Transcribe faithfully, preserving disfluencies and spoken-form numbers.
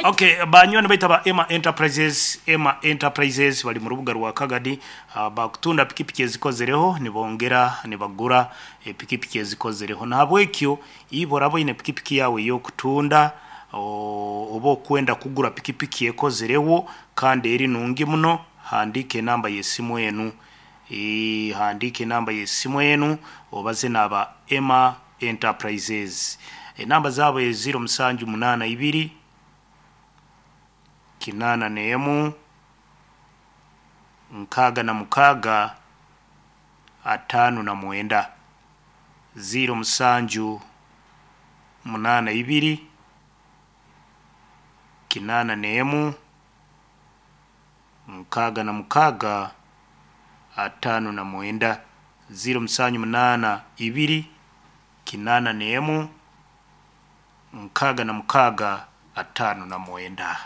Okay, banywani baitu aba Emma Enterprises, Emma Enterprises bali mu rubuga rwa Kagadi, uh, bakutunda pikipiki ezikozereho, nibongera nibagura epikipiki ezikozereho. Nahabwekyo ibo oraba oine pikipiki yawe ey'okutunda o- oba okwenda kugura pikipiki ekozereho kandi eri nungi muno, handika enamba y'esimu enu. Ee, handika enamba y'esimu enu obaze n'aba Emma Enterprises. Enamba zaabo eziro musanju munaana ibiri kinaana n'emu nkaaga na mukaaga ataano na mwenda, ziro musanju munaana ibiri kinaana n'emu nkaaga na mukaaga ataano na mwenda, ziro musanju munaana ibiri kinaana n'emu nkaaga na mukaaga ataano na mwenda.